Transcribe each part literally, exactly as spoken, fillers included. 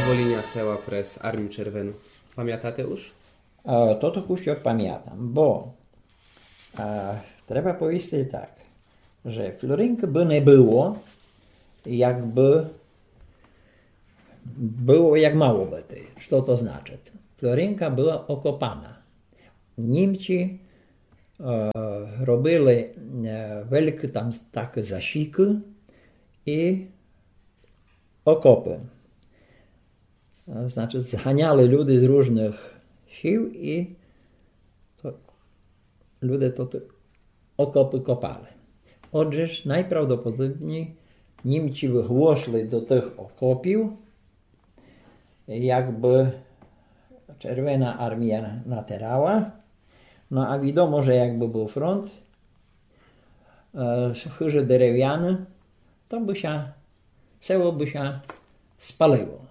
Воліня села през Армію Червену. Памятате уж? Е, тото кусьок памятам, бо, е, треба повісти так, же Флоринкы бы не было, якбы было як мало быти. Што то значыт? Флоринка была окопана. Німці, е, робили, е, великі там такы засікы і окопы. Е, значыт, зганяли люди з ріжных сіл і то, люди то, то окопы копали. Отже ж, найправдоподобній німці выглошли до тых окопів, якбы Червена армія натирала. Но а відомо, же якбы был фронт, е, хыжы деревяны, то бы ся, село бы ся спалило.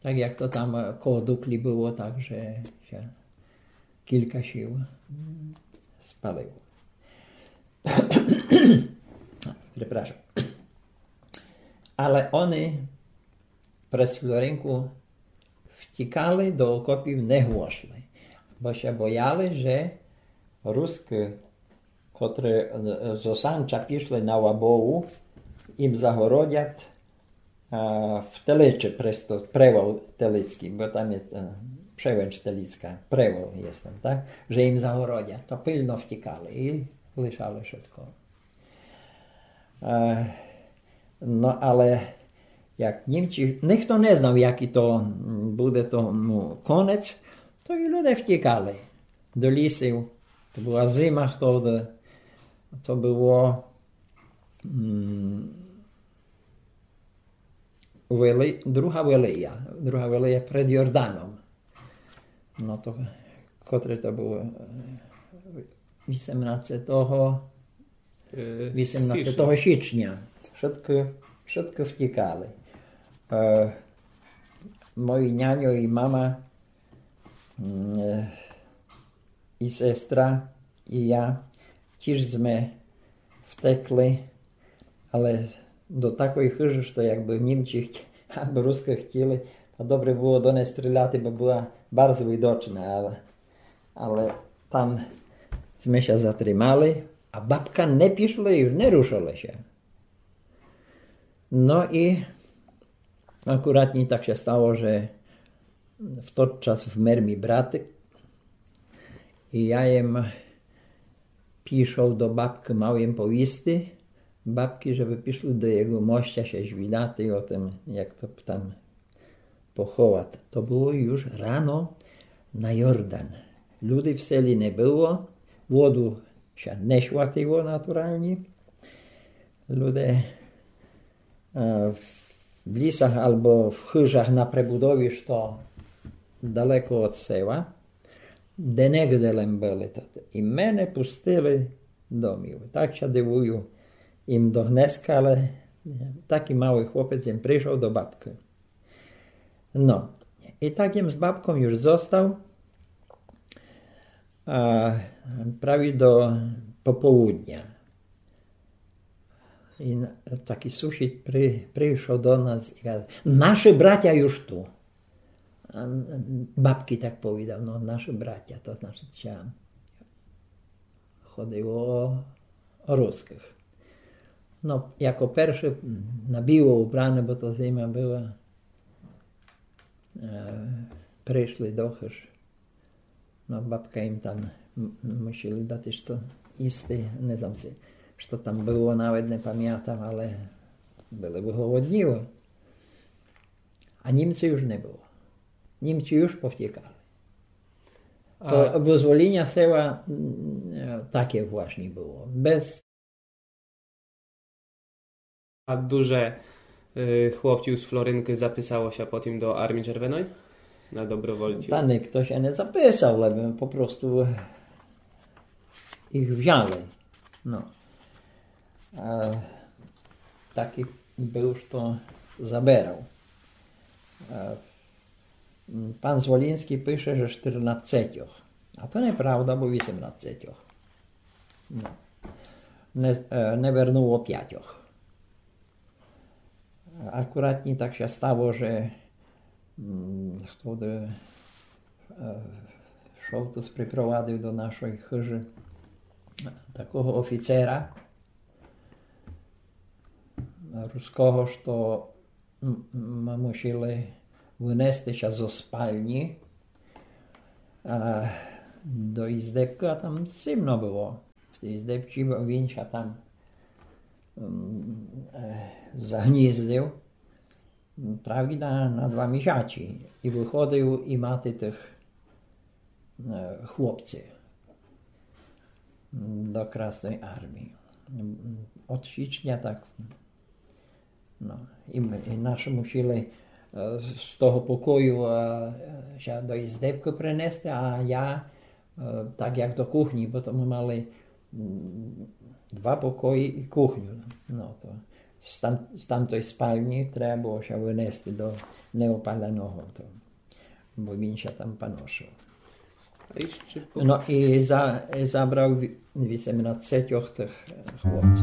Так як то там, е, коло Дуклі было, так же ся кілька сіл, м, спалило. Препрашам. Але они през Флоринку втікали, до окопів не глошли, бо ся бояли, же Рускы, котры, е, з Осанча пішли на Лабову, їм загородят, е, в Теличі, просто превал Телицькый, бо там є, е, Превенч Телицька, превал є там, так? Же їм загородят, то пильно втікали і лишали вшытко. Е, но але як Німці, ніхто не знав, якый то, м, буде тому конець, то і люди втікали до лісів. То была зима тогды, то было, м, Вели-, друга Велия, друга Велия пред Йорданом. Но то, котре то было, е, вісемнадцятого, е, вісемнадцятого січня. Вшыткы, вшыткы втікали. Е, мої няньо і мама, м, е, і сестра, і я тіж зме втекли, але до такой хыжы, што якбы Німці хті-, або Рускы хтіли, то добре было до ней стріляти, бо была барз видочна, але, але там зме ся затримали, а бабка не пішла і не рушала ся. Но і акуратні так ся стало, же в тот час вмер мій братик. І я єм пішов до бабкы, мав єм повісти бабкы, жебы пішли до єго мостя ся звідати о тым, як то там поховати. То было юж рано на Йордан. Люди в селі не было, воду ся не сватило натуралні. Люди, е, в лісах або в хыжах на пребудові, што далеко од села, де-негде лем были. І мене пустили домів. Так ся дивую ім до гнеска, але такый малый хлопець єм пришов до бабкы. Но, і так єм з бабком юж зостав, а, праві до пополудня. І на-, такый сусід при-, пришов до нас і каже: «Нашы братя юж ту». А, м, бабкы так повідав: «Но, нашы братя», то значыт, ся ходило о, о Рускых. Но, яко першы, м, на біло убраны, бо то зима была, е, пришли до хыж. Но, бабка ім там м-, мусили дати што їсти, не знам ци, што там было, навет не памятам, але были бы голоднілы. А Німців юж не было. Німці юж повтікали. То вызволіня села, м, е, таке власні было. Без А дуже, е, хлопців з Флоринкы записало ся потім до Армії Червеной на добровольців? Та никто ся не записав, лем попросту їх взяли. Но. Е, такый был, што заберав. Е, М, пан Зволінськый пише, же штырнадцятьох. А то неправда, бо вісемнадцятьох. Но. Не, е, не вернуло пятьох. Акуратні так ся стало, же М, хто де, е, што хтось припровадив до нашої хыжы такого офіцера руского, што м, мы мусили вынести ся зо спальні, а, до іздебкы, а там зимно было. В тій іздебці він ся там, м, е, загніздив, м, праві на, на два місяці. І выходив і мати тых, е, хлопців до Красної армії. М, од січня так. Но, і мы, і нашы мусили, е, з того покою, е, ся до іздебкы принести, а я, е, так як до кухні, бо то мы мали, м, два покої і кухню. Но, то з там, з тамтої спальні треба было ся вынести до неопаленого, то, бо він ся там паношив. А іщы по- Но і за-, і забрав ві-, вісемнадцятьох тых, е, хлопців.